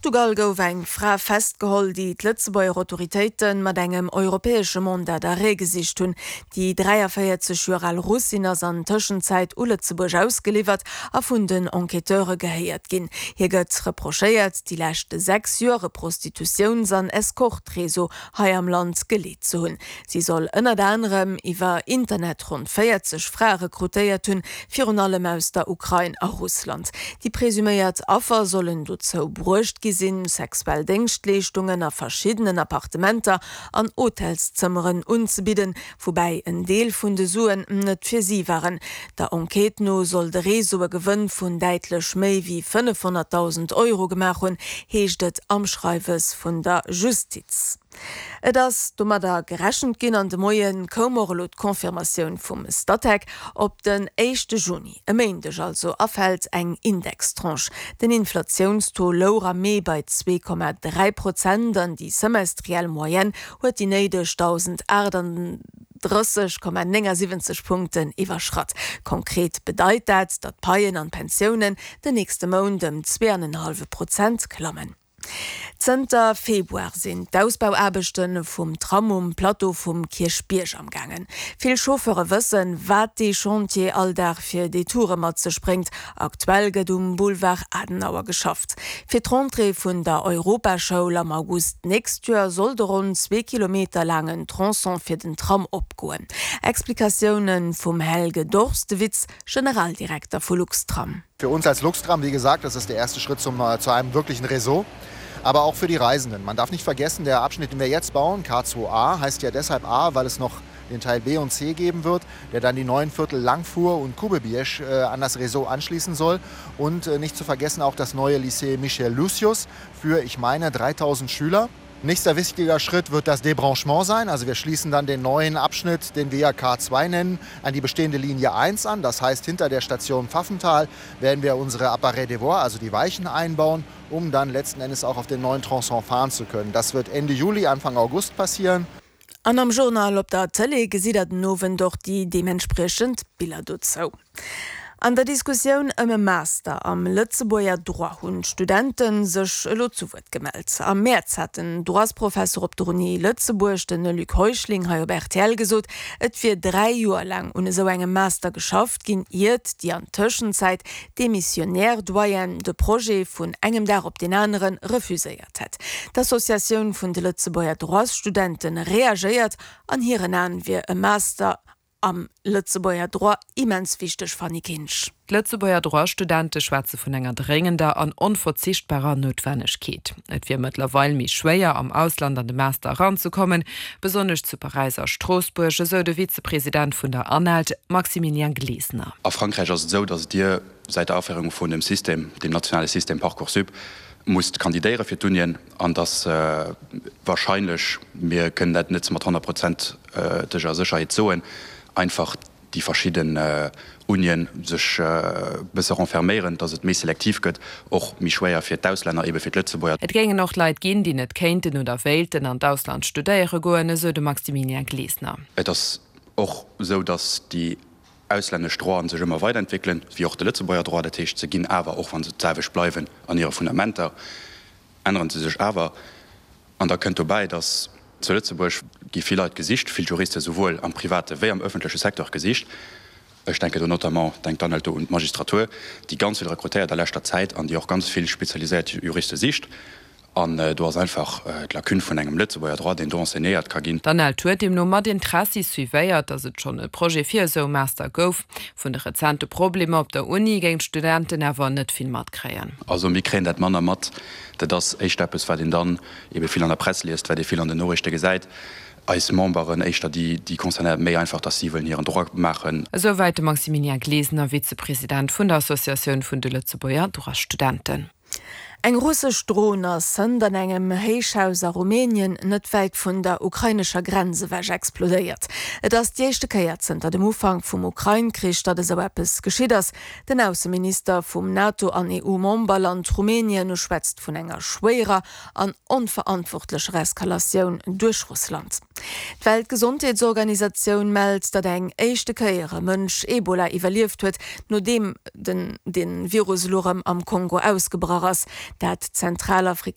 Portugal gouf eng Fra festgeholl, déi d'Lëtzebuerger Autoritéite mat engem europäesche Mandat d'arrêt gesicht hunn. Déi 43 Joer al Russin ass an Tëschenzäit u Lëtzebuerg ausgeliwwert a vun den Enquêteure gehéiert ginn. Hir gëtt reprochéiert, déi lescht 6 Joer e Prostitutiouns an Escorte-Réseau hei am Land geleet ze hunn. Si soll ënnert anerem iwwer Internet ronn 40 Frae rekrutéiert hunn, virun allem aus der Ukrain a Russland. Déi presuméiert Affer sollen dozou bruecht gi sinn, sexuell Déngschtleeschtungen a verschiddenen Appartementer an Hotelszëmmeren unzebidden, woubäi en Deel vun de Suen net fir si waren. Der Enquête no soll de Réseau e Gewënn vun däitlech méi wéi 500.000 Euro gemaach hunn, heescht et am Schreiwes vun der Justiz. Et ass domadder gerechent ginn an de Moie koum och elo d'Confirmatioun vum Statec. Op den éischte Juni, e Méindeg also, erfält eng Indextranche. Den Inflatiounstaux louch am Mee bei 2,3 Prozent an déi semestriell Moyenne huet déi néideg 1.038,79 Punkten iwwerschratt. Konkret bedeit dat, datt d'Paien an d'Pensiounen den nächste Mount ëm zweeanenhallwe Prozent klammen. Zënter Februar sinn d'Ausbauaarbechte vum Tram um Plateau vum Kierchbierg am gaangen. Vill Chauffeure wëssen, wat dee Chantier all Dag fir Detoure mat sech bréngt. Aktuell gëtt um Boulevard Adenauer geschafft. Fir d'Rentrée vun der Europaschoul am August d'nächst Joer soll de ronn zwee Kilometer laangen Tronçon fir den Tram opgoen. Explikatioune vum Helge Dorstewitz, Generaldirekter vu Luxtram. Für uns als Luxtram, wie gesagt, das ist der erste Schritt zum, äh, zu einem wirklichen Réseau aber auch für die Reisenden. Man darf nicht vergessen, der Abschnitt, den wir jetzt bauen, K2A, heißt ja deshalb A, weil es noch den Teil B und C geben wird, der dann die neuen Viertel Langfuhr und Kubebiersch äh, an das Réseau anschließen soll. Und äh, nicht zu vergessen auch das neue Lycée Michel Lucius für, ich meine, 3000 Schüler. Nächster wichtiger Schritt wird das Debranchement sein. Also wir schließen dann den neuen Abschnitt, den wir ja K2 nennen, an die bestehende Linie 1 an. Das heißt, hinter der Station Pfaffenthal werden wir unsere Appareil de voie, also die Weichen einbauen, um dann letzten Endes auch auf den neuen Tronçon fahren zu können. Das wird Ende Juli, Anfang August passieren. An am Journal op der Tëlee gesitt der den Owend och déi deementspriechend Biller dozou. An der Diskussioun ëm e Master am Lëtzebuerger Droit hunn d'Studente sech elo zu Wuert gemellt. Am Mäerz hat den Droitsprofesser op der Uni Lëtzebuerg, de Luc Heuschling, hei op rtl gesot, et wier 3 Joer laang un esou engem Master geschafft ginn, iert déi an Tëschenzäit demissionär Doyenne de Projet vun engem Dag op deen anere refuséiert hätt. D'Associatioun vun de Lëtzebuerger Droitsstudente reagéiert, An hiren Aen wier e Master am Lëtzebuerger Droit immens wichteg, Fanny Kinsch. D'Lëtzebuerger Droit-Studente schwätze vun enger dréngender an onverzichtbarer Noutwennegkeet. Et wier mëttlerweil méi schwéier, am Ausland an de Master eranzekommen, besonnesch zu Paräis a Stroossbuerg, esou de Vizepresident vun der ANELD, Maximilien Glesener. A Frankräich ass et esou, datt Dir säit der Aféierung vun dem System, dem nationale System Parcoursup, musst kandidéiere fir d'Unien an datt wahrscheinlech, mir kënnen dat net mat honnertprozenteger Sécherheet soen, einfach déi verschidden Unien sech e bësse renferméieren, datt et méi selektiv gëtt, och méi schwéier fir d'Auslänner, ebe fir d'Lëtzebuerger. Et géingen och Leit ginn, déi net kéinten oder wéilten an d'Ausland studéiere goen, esou de Maximilian Glesener. Et ass och esou, datt déi auslännesch Droiten sech ëmmer weiderentwéckelen, wéi och de Lëtzebuerger Droit. Dat heescht, se ginn awer, och wa se d'selwecht bleiwen an hire Fundamenter, änneren se sech awer. An da kënnt dobäi, datt zu Lëtzebuerg gi vill Leit gesicht, vill Juriste souwuel am private wéi am öffentleche Secteur gesicht. Ech denken do notamment, denkt dann halt do un d'Magistratur, déi ganz vill rekrutéiert a leschter Zäit an déi och ganz vill spezialiséiert Juriste sicht. An do ass einfach d'Lacune vun engem Lëtzebuerger Droit, deen do enseignéiert ka ginn. D'ANELD huet deemno mat Interessi suivéiert, datt et schonn e Projet fir esou Master gouf. Vun de rezente Problemer op der Uni géing d'Studenten awer net vill matkréien. Also mir kréien dat manner mat. Dat ass éischter eppes, wat een dann ebe vill an der Press liest, wat ee vill an den Noriichte gesäit. Eis Memberen, éischter déi, déi concernéiert, méi einfach, datt si wëllen hiren Droit maachen. Esouwäit de Maximilien Glesener, Vizepresident vun der Associatioun vun de Lëtzebuerger Droitsstudenten. Eng russesch Dron ass hënt an engem Héichhaus a Rumänien, net wäit vun der ukrainescher Grenz ewech, explodéiert. Et ass déi éischte Kéier zënter dem Ufank vum Ukrain-Krich, datt esou eppes geschitt ass. Den Ausseminister vum NATO an EU-Memberland Rumänien schwätzt vun enger schwéierer an onverantwortlecher Eskalatioun duerch Russland. D'Weltgesondheetsorganisatioun mellt, datt eng éischte Kéier e Mënsch Ebola iwwerlieft huet, nodeem den de Virus elo rëm am Kongo ausgebrach ass. Dat zentralafrikanescht.